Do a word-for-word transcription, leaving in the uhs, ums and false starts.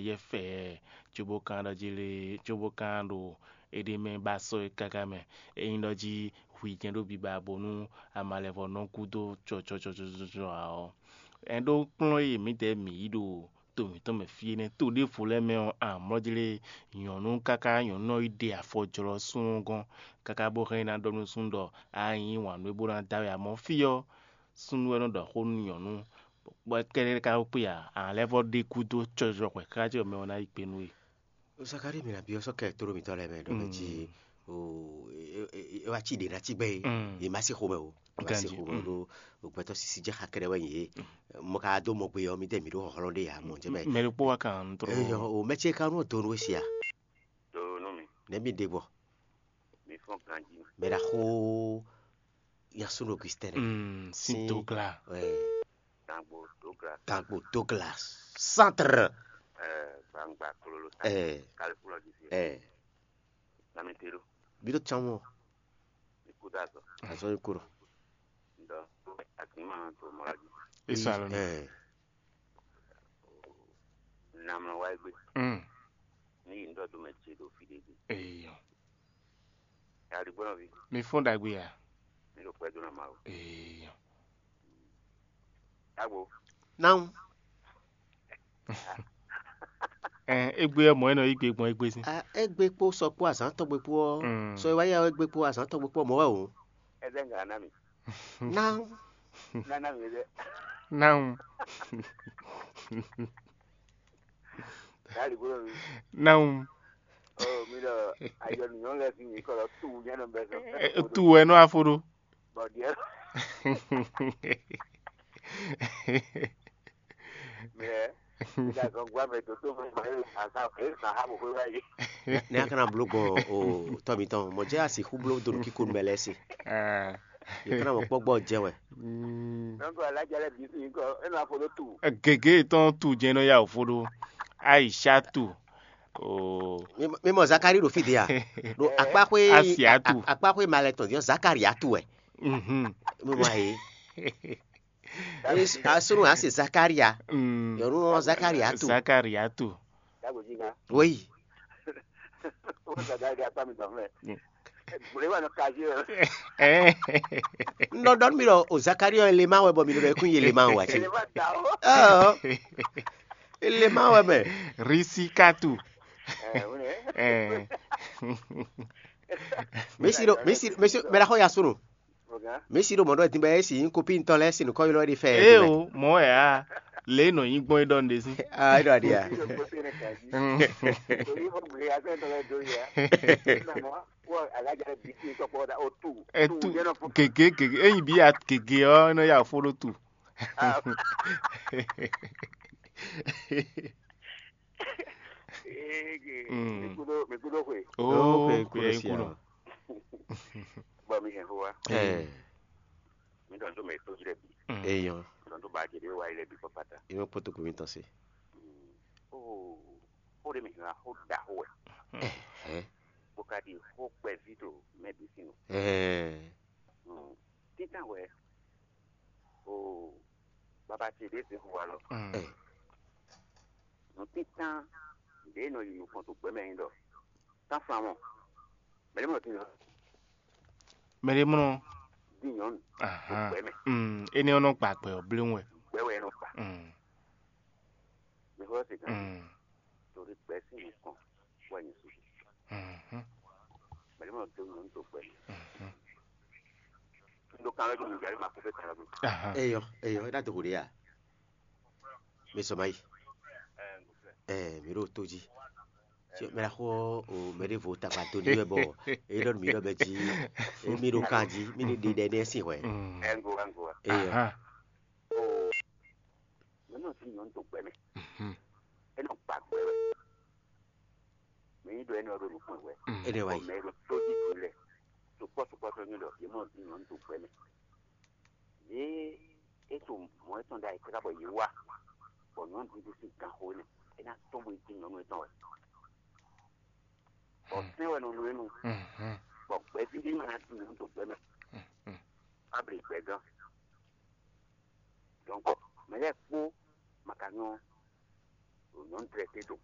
yɛ fɛɛ, cóbó ka ɖɔ jí lé, cóbó ka ɖo éɖée mɛ ba sɔ́ é káká mɛ. Ényí ɖɔ jí hwi jɛ́n ɖó biba bónú amalɛvɔ nɔ gúdo cɔcɔcɔcɔcɔ ǎ ɔ́, ɛn ɖó kplɔ́n e mǐdɛɛ mǐ yi ɖo to mǐtɔn mɛ fí énɛ́, to ɖěvo lɛ́ɛ mɛ ɔ́, amlɔ́ jí lé nyɔ̌nu káká nyɔ̌nu ɔ́ yi ɖe afɔ jlɔ́ súnnu gɔ́n káká bó hɛn ná ɖɔ nú súnnu ɖɔ a nyí wǎn nú é bó ná dá wɛ amɔ̌ fí ɔ́, súnnu wɛ nɔ ɖɔ xó nú nyɔ̌nu, bɔ é kɛ́ɖɛ́ ka kpé ǎ, a lɛ́ vɔ́ ɖe gúdo cɔjɔ hwɛ̌ xá jɔ mɛ ɔ́ ná yí gbe nú we. Zakalíi, mi nǎ byɔ́ sɔ́ kɛ tóɖó mitɔn lɛ́ɛ mɛ ɖɔ mɛ jí o, é wá cí ɖě ná cí gbɛ́ é, yě má sí xomɛ o, yě má sí xomɛ o, ɖó gbɛtɔ́ sísí jɛ xa kɛɖɛ wɛ nyí é. Mɔ ka dó mɔ gbe ɔ́, mi dɛ mǐ ɖó hlɔ́nhlɔ́n ɖé ǎ, mɔ̌ jɛ mɛ. Mɛ ɖokpó wá kan nú tró. Eyɔ o, mɛ ce ka nɔ do nú we sia? Do nú mi. Nɛ̌ mi ɖe gbɔ? Mi fɔ́n ganjí. Mɛ ɖaxó Yasun Augustin. Mm, sin Douglas. Gangbo Douglas. Gangbo Douglas. Centre. Gbangba kololo. Kalifulɔ di fi. Nami te ɖo. Bi ɖo tsan mɔ. Mi kú dá zɔ. Azɔ yi kúrò. Ŋdɔ agbima to mɔ la dzi. Isa lɔ. Namlɔ wa egbe. Mm. Ni yi ŋdɔ do mɛ ce ɖo fi ɖe gbe. Eyɔ. Aligbɔnɔvi. Mi fɔ́n ɖagbe ya. Mi ɖo kpɛ dó na Mawu. Eyɔ. Agbo. Nawu. Ɛn, égbé ɔ́, mɔ̌ é nɔ yí gbe gbɔn égbé sín. A, égbé kpó sɔ kpó azǎn tɔgbe kpó ɔ́, Mm. Sɔ e wá yá ɔ́ égbé kpó azǎn tɔgbe kpó ɔ́, mɔ̌ wɛ o. Ɛ zɛ nga na mi. Nawu. Na na mi zɛ. Nawu. Dali gbolo mi. Nawu. Oh, mi ɖɔ ayɔ nìyɔn lɛ fi mi kɔ lɔ tu nyɛ nɔ bɛ sɔ. Ɛ, tu wɛ nɔ afo ɖo. Bɔ diɛ. Mɛ, mi da gɔngua mɛ to to mɛ ma ye asa e sa ha bo xwe wa ye. Ne a kana blo gbɔn o tɔ mitɔn, mɔ jɛ asi xu blo do nukiko mɛ lɛ se. Ɛ. Ye kana mɔ kpɔgbɔ jɛ wɛ. Mm. Donc, aladza lɛ bi sin kɔ, e nɔ afo ɖo tu. Gege tɔn tu jɛ nɔ ya ofo ɖo. Aisha tu. Oh. Mi, mi mɔ Zakari ɖo fi de a? Ɖo akpaxwe Asia tu. Akpaxwe malɛ tɔn diɔ Zakari atu wɛ. Mhm. Mi mɔ ayi. Asunu ase Zakaria. Mm. Yɔnu ɔ Zakaria tu. Zakaria tu. Dagbo jí ná. Oui. Ó sàgá ilé apá mi dàn fún ẹ. Gbòlé wà ní kájí ẹ. Ẹ. Ŋɖɔ ɖɔ nú mi ɖɔ o Zakaria ɔ Elema wɛ bɔ mi ɖɔ ɖɔ ekún yi Elema wɛ wá tsi. Elema da o. Ɔ. Elema wɛ mɛ. Risikatu. Ẹ wúni. Ẹ. Mesi ɖo mesi mesi mɛ ɖa xɔ ya sunu. Mesi ɖo mɔ̌ ɖɔ din bɔ é si nyí kopín tɔn lɛ́ɛ sin nǔkɔ ylɔ́ ɖi fɛ. Ee o, mɔ̌ wɛ a, lě e nɔ nyí gbɔn é ɖɔ nǔɖé sín. Ah, é ɖɔ aɖi a. Ɛ tu gěgé gěgé, ényí bí ya gěgé ɔ́, é nɔ ya fó ɖó tu. Mm. Mi kúdó xwe. Oh, kúdó sí a. Bɔ mi hɛn xó wa. Ɛ. Mi dɔn tó mɛ tó jí lɛ bi. Eyɔn. Mi dɔn tó ba jɛ de wa yi lɛ bi kpakpata. Yɔ kpɔtɔ kò mi tɔ se. Oh, xó ɖé mi hɛn xó da xó wɛ. Ɛ. Bó ka ɖi xó kpɛví to mɛ bǐ sín o. Ɛ. Títàn wɛ. Oh, baba ce ɖé sin xó wa lɔ. Ɛ. Nǔtítán ɖě nɔ yi nukɔn to gbɛmɛ nyi ɖɔ tánfamɔ mɛɖé mɔ din mɛɖé mlɔ. Din nyɔnu to gbɛmɛ. Énɛ́ ɔ́ nɔ gba gbɛ ɔ́ bléwún wɛ. Gbɛ wɛ nɔ gba. Mɛ xɔ se kan. Torí gbɛ sí nukɔn wɛ nyi su. Mɛɖé mɔ do nyɔnu to gbɛmɛ. Ndo kan lɛ do mi jari ma ko fɛ kan lɛ do. Eyɔ, eyɔ, é ná do xo ɖe ya. Mi sɔ ma yi. Ɛ, mi ɖo tó jí. Mɛ la xɔ o mɛ ɖe vo takpa to ní wɛ bɔ e ɖɔ mi ɖɔ bɛ jí. E mi ɖo kan jí, mi ɖe ɖe ɖe sin hwɛ. Ɛngo ɛngo. Eyɔ. Aha. Mɛ nɔ ti nyɔnu to gbɛ mɛ. E nɔ gba gbɛ wɛ. Mɛ yi ɖɔ e nɔ ɖo nukun wɛ. E ɖe wa yi. Mɛ ɖo tó jí tu lɛ. Sukpɔ sukpɔ sɔ nyɔ ɖɔ yɛ mɔ ti nyɔnu to gbɛ mɛ. Ye e to mɔ etɔn ɖe ayikpɛ́ bɔ yě wá, bɔ nyɔ̌nu ɖuɖu sín ganxo énɛ́, é ná tɔ́n bó yi cí nyɔ̌nu étɔn wɛ. Bɔ sɛ́n wɛ nɔ nɔ énu, bɔ gbɛ̌ví ɖé ma ná cí nyɔ̌nu to gbɛ mɛ, abli gbɛ̌gán. Donc mɛ lɛ́ɛ kpó ma ka nyɔ́ nyɔ̌nu tlɛ té ɖokpó.